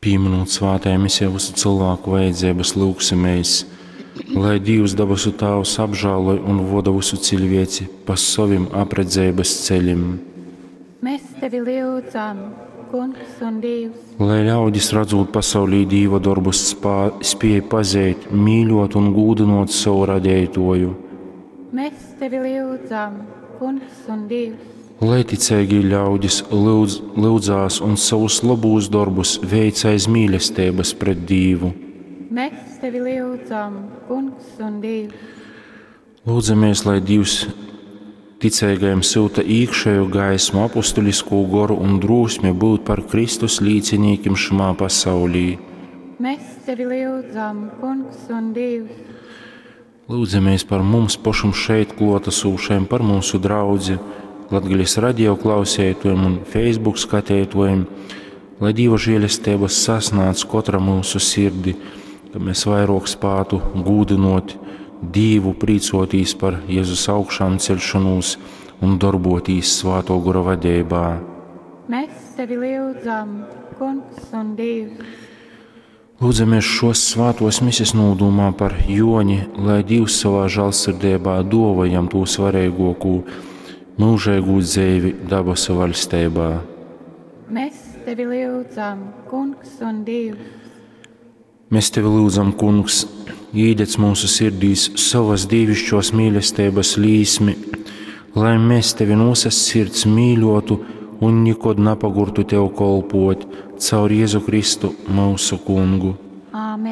Pīminūt svātajā misē vysu cylvāku vajadzeibys, lyugsimēs, lai Dīvs dabasu Tāvs apžāloj un voda vysu ciļvieci pa sovim apredzeibys celim. Mēs tevi lyudzam, Kungs un Dīvs. Lai ļaudis, radzūt pasaulī Dīva dorbus, spā, spiej pazeit, mīļuot un gūdynuot sovu Radeituoju. Mēs tevi lyudzam, Kungs un Dīvs. Lai ticeigī ļaudis lyudz, lyudzās un sovus lobūs dorbus veic aiz mīlesteibys pret Dīvu. Mēs tevi lyudzam, Kungs un Dīvs. Lūdzamies, lai Dīvs ticeigajam syuta īkšēju gaismu, apustuliskū goru un drūsmi būt par Kristus līcinīkim šymā pasaulī. Mēs tevi lyudzam, Kungs un Dīvs. Lūdzamies par mums pašim šeit klātesošajiem, par mūsu draudzi, Latgales radio klausētojiem un Facebook skatētojiem, lai Dieva žēlestības sasnāc katra mūsu sirdi, ka mēs vairāk spātu gūdinot Dīvu, prīcotīs par Jēzus augšām celšanos un darbotīs Svāto Gora vadeibā. Mēs tevi lyudzam, Kungs un Dīvs. Lūdzamies šos svātos mises nūdūmā par Joni, lai Dievs savā žālsirdībā dova jam tū svarīgāko mūžīgu dzeivi dabasu valstībā. Mēs tevi lyudzam, Kungs un Dīvs. Mēs tevi lūdzam, Kungs, īdedz mūsu sirdīs savas dievišķos mīlestības līsmi, lai mēs tevi no visas sirds mīļotu un nekad napagurtu tev kolpot caur Jēzu Kristu mūsu Kungu. Āmen.